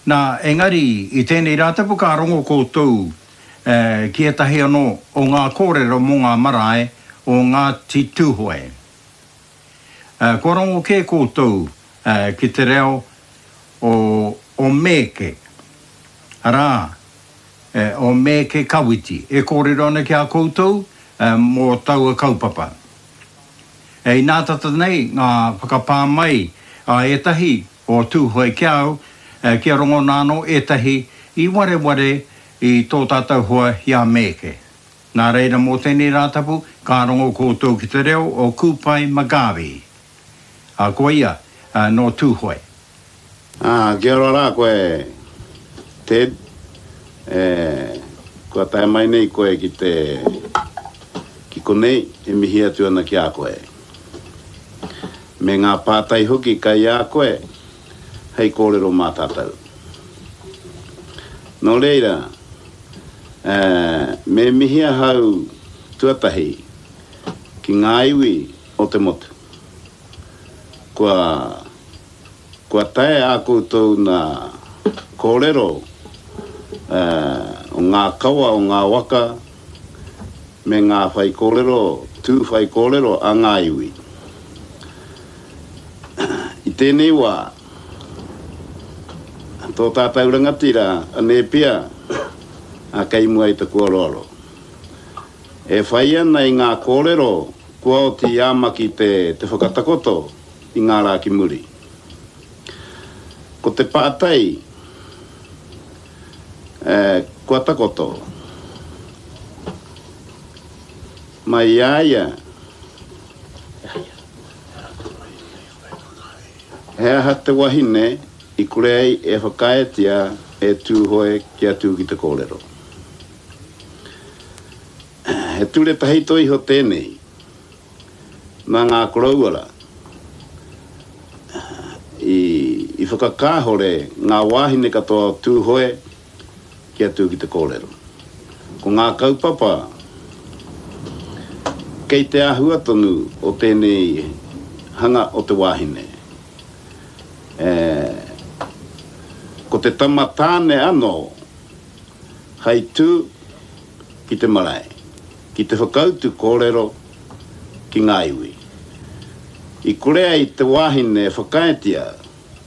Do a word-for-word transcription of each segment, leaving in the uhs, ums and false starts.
Nā, engari, i tēnei Rātapu ka rongo koutou eh, ki ētahi anō o ngā kōrero mō ngā marae o Ngāti Tūhoe. Eh, kua rongo kē koutou eh, ki te reo o, o Mēke, arā, eh, o Mēke Kawiti, e kōrero ana ki a koutou eh, mō taua kaupapa. E inā tata nei ngā whakapā mai a ētahi o Tūhoe ki au, eh, kia rongona anō ētahi i wareware i tō tātou hoa i a Mēke. Nā reira mō tēnei Rātapu, ka rongo koutou ki te reo o Kūpai McGarvey. A ko ia, uh, nō Tūhoe. Ah, kia ora rā koe, Ted. E, kua tae mai nei koe ki te ki konei e mihi atu ana ki a koe. Me ngā pātai hoki kai a koe hei kōrero mā tātou. Nō reira, e, me mihi ahau tuatahi ki ngā iwi o te motu. Kua, kua tae a koutou nā kōrero e, o ngā kawa o ngā waka me ngā whai kōrero, tū whai kōrero a ngā iwi. I tēnei wā, tō tātou rangatira a Nēpia a kei mua i te kuaroaro. E whai ana i ngā kōrero kua oti i a Maki te, te whakatakoto i ngā rā ki muri. Ko te pātai e, kua takoto mai i a ia he aha te wahine i kore ai e whakaaetia e Tūhoe kia tū ki te kōrero. He ture tahito iho tēnei nā ngā koroua i, i whakakāhore ngā wāhine katoa o Tūhoe kia tū ki te kōrero. Ko ngā kaupapa kei te āhua tonu o tēnei hanga o te wāhine. E, ko te tama tāne anō hei tū ki te marae, ki te whakautu kōrero ki ngā iwi. I kore ai te wāhine e whakaaetia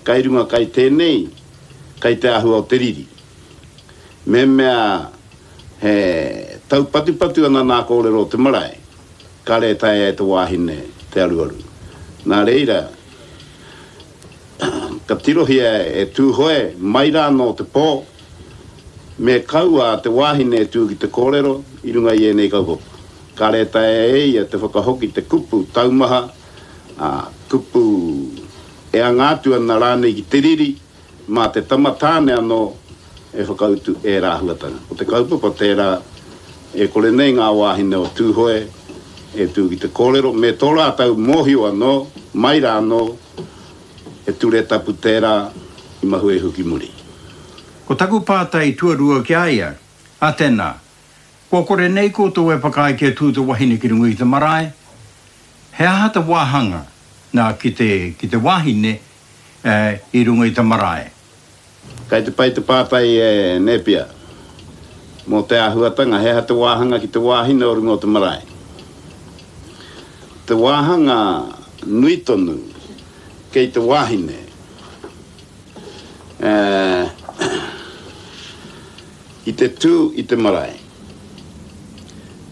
kai runga kai tēnei, kai te āhua o te riri. Me mea he taupatupatu ana nā kōrero o te marae, kare e taea e te wāhine te aruaru. Nā reira, ka tirohia e Tūhoe mai rā nō te pō, me kaua te wāhine e tū ki te kōrero i runga i ēnei kaupapa. Kare e taea e ia te whakahoki te kupu taumaha, a, kupu e anga atu ana rānei ki te riri, mā te tama tāne anō e whakautu e rāhuatanga. Ko te kaupapa tērā e kore nei ngā wāhine o Tūhoe e tū ki te kōrero, me tō rātou mōhio anō, mai rā anō, e ture tapu tērā i mahue iho ki muri. Ko taku pātai tuarua ki a ia, a tēnā, kua kore nei koutou e whakaae kia tū te wahine ki runga i te marae, he aha te wāhanga nā ki te, ki te wāhine eh, i runga i te marae? Kai te pai te pātai e Nēpia, mō te āhuatanga, he aha te wāhanga ki te wāhine o runga o te marae. Te wāhanga nui tonu kei te wāhine. E, i te tū i te marae.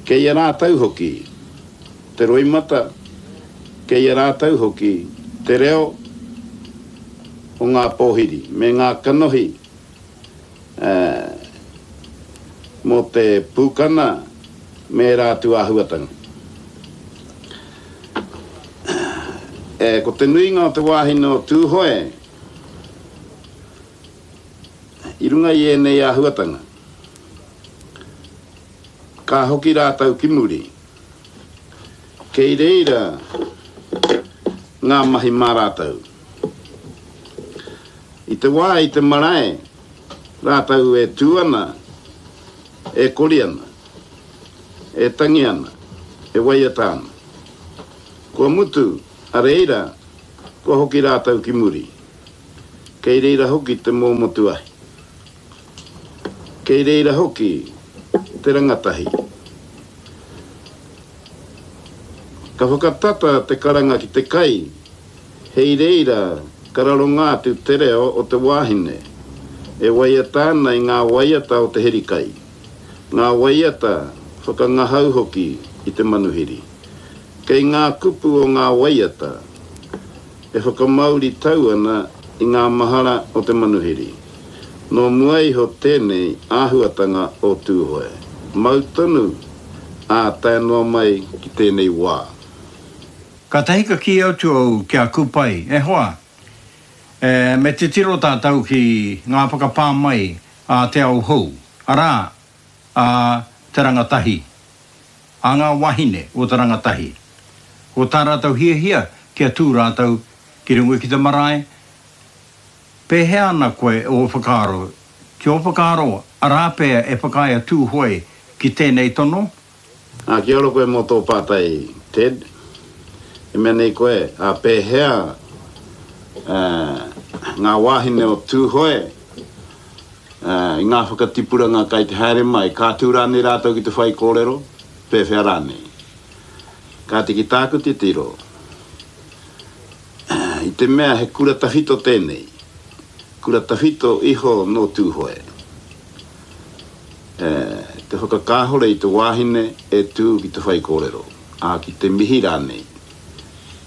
Kei a rātou hoki te roimata, kei a rātou hoki te reo o ngā pōhiri me ngā kanohi e, mō te pūkana me ērā atu āhuatanga. E, ko te nuinga o te wāhine o Tūhoe i runga i ēnei āhuatanga, ka hoki rātou ki muri. Kei reira ngā mahi mā rātou. I te wā i te marae, rātou e tū ana, e kori ana, e tangi ana, e waiata ana. Kua mutu, a reira, kua hoki rātou ki muri. Kei reira hoki te mōmotu ahi. Kei reira hoki te rangatahi. Ka whakatata te karanga ki te kai, hei reira ka raronga atu te reo o te wāhine, e waiata ana i ngā waiata o te herikai, ngā waiata whakangahau hoki i te manuhiri. Kei ngā kupu o ngā waiata e whakamauri tau ana i ngā mahara o te manuhiri. Nō mua iho tēnei āhuatanga o Tūhoe. Mau tonu, ā, tae noa mai ki tēnei wā. Kātahi ka kī atu au ki a Kupai, E hoa, e, me titiro tātou ki ngā whakapā mai a te ao hou, arā, a te rangatahi, a ngā wāhine o te rangatahi. Ko tā rātou hiahia kia tū rātou ki runga ki te marae. Pēhea ana koe ō whakaaro? Ki ō whakaaro, arā pea e whakaae a Tūhoe ki tēnei tono? Ā, kia ora koe mō tō pātai, Ted. E mea nei koe, ā, pēhea, ā, ngā wāhine o Tūhoe, ā, i ngā whakatipuranga kai te haere mai, ka tū rānei rātou ki te whaikōrero, pēwhea rānei? Kāti ki tāku titiro, i te mea he kura tawhito tēnei, kura tawhito iho nō Tūhoe, e, te whakakāhore i te wāhine e tū ki te whaikōrero, ā, ki te mihi rānei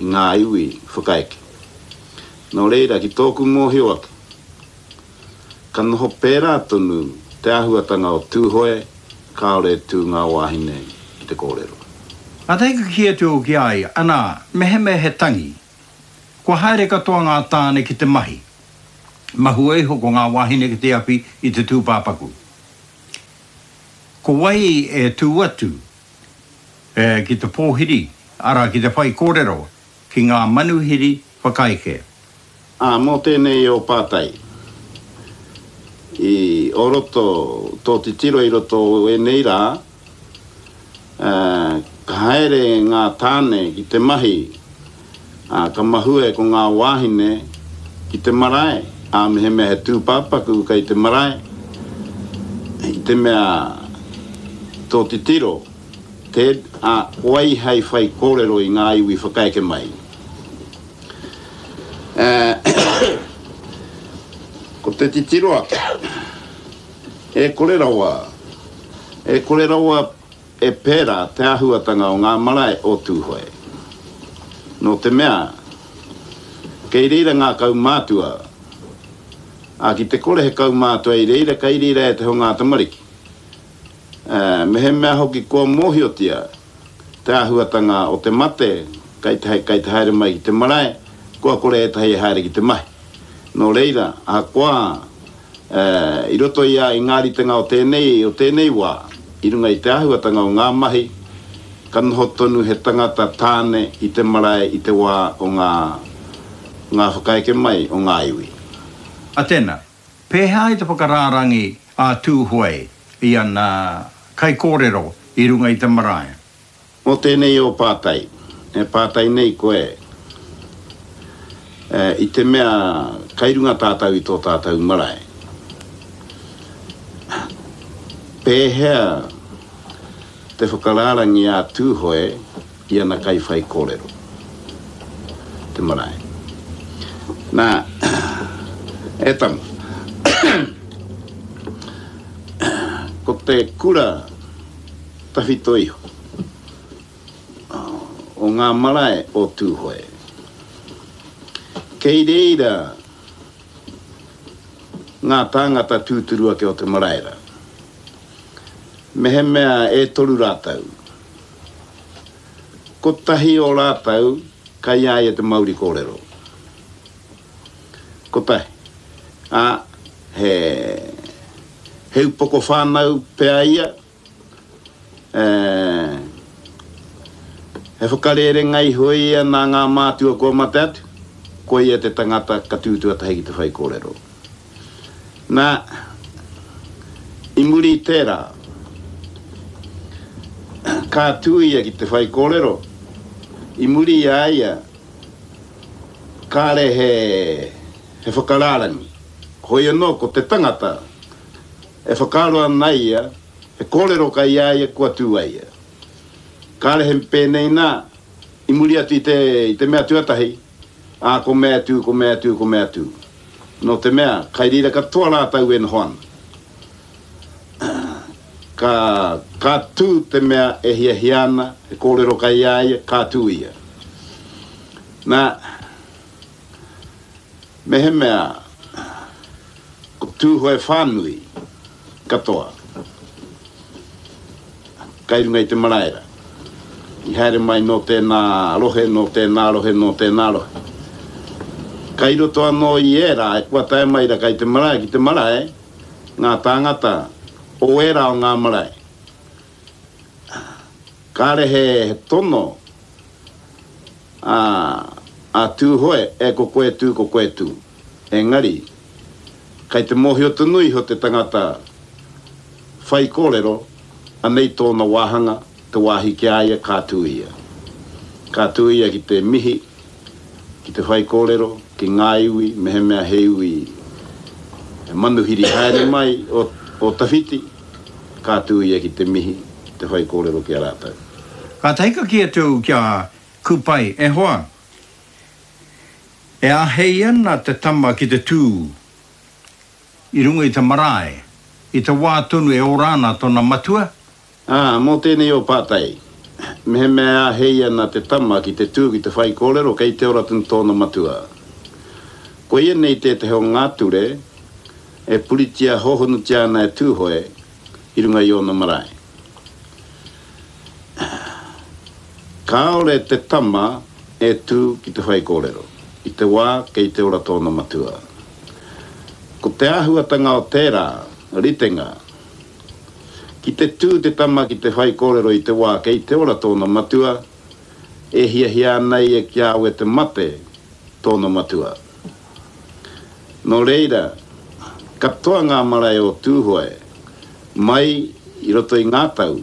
i ngā iwi whakaeke. Nō reira, ki tōku mōhio ake, ka noho pērā tonu te āhuatanga o Tūhoe, kāore e tū ngā wāhine ki te kōrero. Kātahi ka kī atu au ki a ia, anā, mehemea he tangi, kua haere katoa ngā tāne ki te mahi, mahue iho ko ngā wāhine ki te awhi i te tūpāpaku. Ko wai e tū atu ki te pōhiri, arā, ki te whaikōrero ki ngā manuhiri whakaeke? Ā, mō tēnei ō pātai, i o roto, tō titiro i roto o ēnei rā, ā, ka haere ngā tāne ki te mahi, ā, ka mahue ko ngā wāhine ki te marae, ā, mehemea he tūpāpaku kei te marae, i te mea tō titiro, Ted, ā, ko wai hei whai kōrero i ngā iwi whakaeke mai? Ā, ko te titiro ake, e kore rawa, e kore rawa e pērā te āhuatanga o ngā marae o Tūhoe. Nō te mea, kei reira ngā kaumātua, ā, ki te kore he kaumātua i reira, kei reira e te ho ngā tamariki. Ā, mehemea hoki kua mōhiotia te āhuatanga o te mate kei te, kei te haere mai ki te marae, kua kore ētahi e haere ki te mahi. Nō reira, ahakoa, ā, i roto i a, i ngā ritenga o tēnei, o tēnei wā, i runga i te āhuatanga o ngā mahi, ka noho tonu he tangata tāne i te marae i te wā o ngā, ngā whakaeke mai o ngā iwi. A tēnā, pēhea ai te whakarārangi a Tūhoe i ana kaikōrero i runga i te marae? Mō tēnei ō pātai, e pātai nei koe, i te mea kai runga tātou i tō tātou marae, pēhea te whakarārangi a Tūhoe i ana kaiwhaikōrero, te marae? Nā, e tama, ko te kura tawhito iho o ngā marae o Tūhoe, kei reira ngā tāngata tūturu ake o te marae rā. Mehemea e toru rātou, kotahi o rātou kai a ia te mauri kōrero. Kotahi. Ā, he, he upoko whānau pea ia, e, he whakarērenga iho ia nā ngā mātua kua mate atu, ko ia te tangata ka tū tuatahi ki te whaikōrero. Nā, i muri i tērā, ka tū ia ki te whaikōrero, i muri i a ia, kāre he, he whakarārangi. Hoi anō ko te tangata E whakaaro ana ia, he kōrero kai a ia kua tū ai ia. Kāre he pēnei nā, i muri atu i te, i te mea tuatahi, ā, ko mea tū, ko mea tū, ko mea tū. Nō te mea, kai reira katoa rātou e noho ana. Ka, ka tū te mea e hiahia ana, he kōrero kai a ia, ka tū ia. Nā, mehemea, ko Tūhoe whānui katoa, kai runga i te marae rā. I haere mai nō tēnā rohe, nō tēnā rohe, nō tēnā rohe. Kai roto anō i ērā e kua tae mai rā kai te marae ki te marae, ngā tāngata o ērā o ngā marae. Kāre he, he tono a, a Tūhoe e ko koe tū, ko koe tū. Engari, kai te mōhio tonu iho te tangata whai kōrero, anei tōna wāhanga, te wāhi ki a ia, ka tū ia. Ka tū ia ki te mihi, ki te whai kōrero, ki ngā iwi, mehemea he iwi he manuhiri haere mai o, o tawhiti, ka tū ia ki te mihi, ki te whai kōrero ki a rātou. Kātahi ka kī atu ki a Kupai, e hoa, e āhei ana te tama ki te tū i runga i te marae, i te wā tonu e ora ana tōna matua? Ā, mō tēnei o pātai, mehemea e āhei ana te tama ki te tū ki te whaikōrero kei te ora tonu tōna matua. Koia nei tētahi o ngā ture e puritia hōhonutia ana e Tūhoe i runga i ōna marae. Kāore te tama e tū ki te whaikōrero i te wā kei te ora tōna matua. Ko te āhuatanga o tērā ritenga, ki te tū te tama ki te whaikōrero i te wā kei te ora tōna matua, e hiahia ana ia kia awe te mate tōna matua. Nō reira, katoa ngā marae o Tūhoe, mai i roto i ngā tau,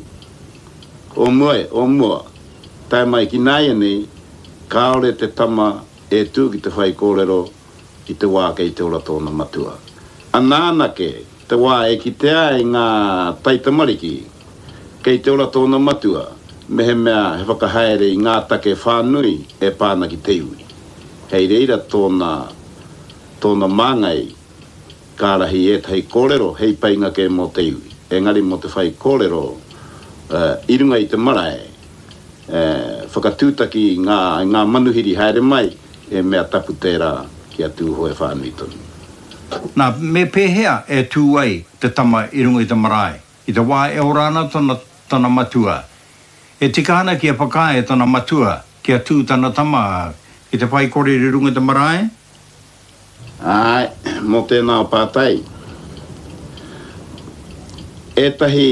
o mua, o mua, tae mai ki nāianei, kāore te tama e tū ki te whaikōrero i te wā kei te ora tōna matua. Ana anake, te wā e kitea ai ngā taitamariki kei te ora tōna matua, mehemea he whakahaere i ngā take whānui e pā ana ki te iwi. Hei reira tōna, tōna māngai ka ārahi ētahi kōrero hei painga kē mō te iwi. Engari mō te whaikōrero i runga i te marae, whakatūtaki i ngā, i ngā manuhiri haere mai, he mea tapu tērā ki a Tūhoe whānui tonu. Nā, me pēhea e tū ai te tama i runga i te marae, i te wā e ora ana tana, tana matua? E tika ana kia whakaae tana matua kia tū tana tama ki te whaikōrero i runga i te marae? Āe, mō tēnā pātai. Ētahi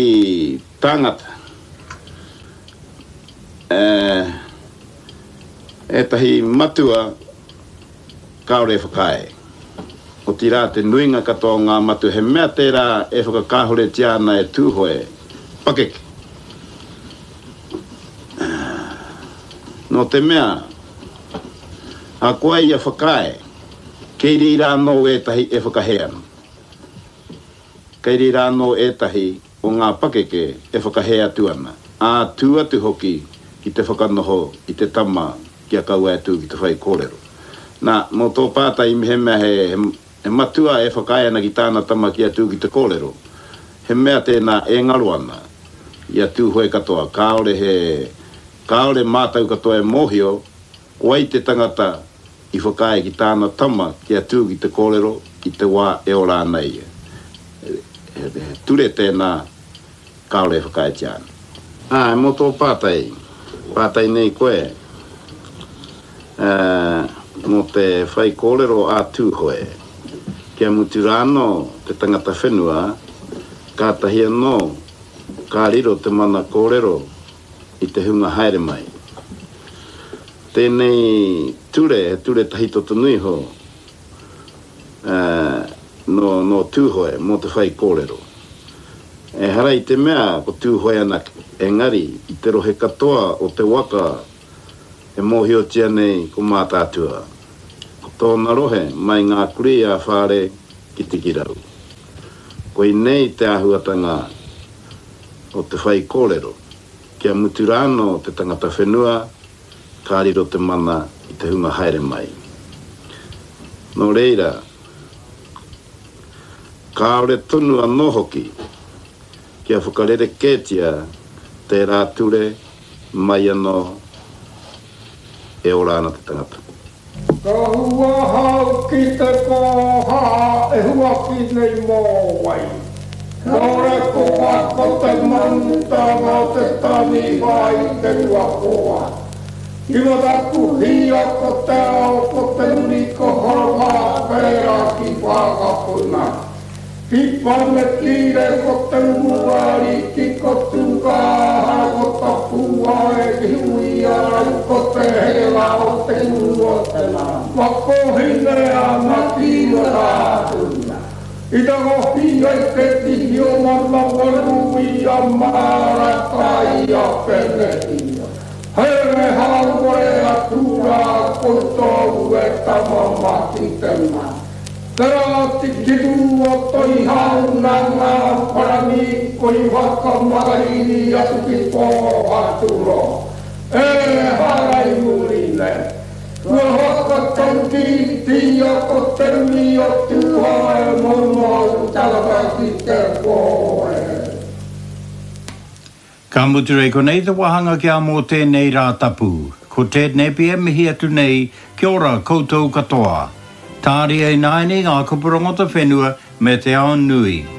tāngata, ētahi matua kāore e whakaae. Otirā te nuinga katoa o ngā matua he mea tērā e whakakāhoretia ana e Tūhoe pakeke. Nō te mea, ahakoa ia whakaae, kei reira anō ētahi e whakahē ana. Kei reira anō ētahi o ngā pakeke e whakahē atu ana, ā, tū atu hoki ki te whakanoho i te tama kia kaua e tū ki te whaikōrero. Nā, mō tō pātai mehemea he, he matua e whakaae ana ki tāna tama kia tū ki te kōrero, he mea tēnā e ngaro ana i a Tūhoe katoa, kāore he, kāore mātau katoa e mōhio ko wai te tangata i whakaae ki tāna tama kia tū ki te kōrero i te wā e ora ana ia. He, he, he ture tēnā kāore e whakaaetia ana. Ā, mō tō pātai, pātai nei koe, ā, mō te whaikōrero a Tūhoe, kia mutu rā anō te tangata whenua, kātahi anō ka riro te mana kōrero i te hunga haere mai. Tēnei ture, he ture tahito tonu iho, ā, nō, nō Tūhoe, mō te whaikōrero. Ehara i te mea ko Tūhoe anake, engari i te rohe katoa o te waka e mōhiotia nei ko Mātaatua. Ko tōna rohe mai ngā kurī a Whāre ki Tikirau. Koinei te āhuatanga o te whaikōrero, kia mutu rānō te tangata whenua, ka riro te mana i te hunga haere mai. Nō reira, kāore tonu anō hoki kia whakarerekētia tērā ture mai anō e ora ana te tangata. Ka hua hau ki te koha e huaki nei mō wai. Nō koha ko te manutanga o te taniwha i te rua koa. Ki Matakuhia ko te ao ko te nui ko Horomā pērā ki Whakapuna. Ki Panekire ko te Umuariki ko Tūkāhara ko Tapuae ki Huiarau ko te Herenga o te Uru o te Makohine ana ki Watāpuna. I tangohia i te tihi o Manawaru i a Marata i a Penehia. Here hauore atu rā koutou e tama mā ki te mana. Te rā tikiru o Toihau nā ngā parani koi whakamakariri atu ki Pōhaturoa. E hara i muri nei. Kua whakataukītia ko te nui o Tūhoe moumou tangata ki te kōrero. Ka mutu rei konei te wāhanga ki a mō tēnei rā tapu. Ko Ted Napier mihi atu nei, kia ora koutou katoa. Tāria ināianei ngā kupu rangata whenua me te ao nui.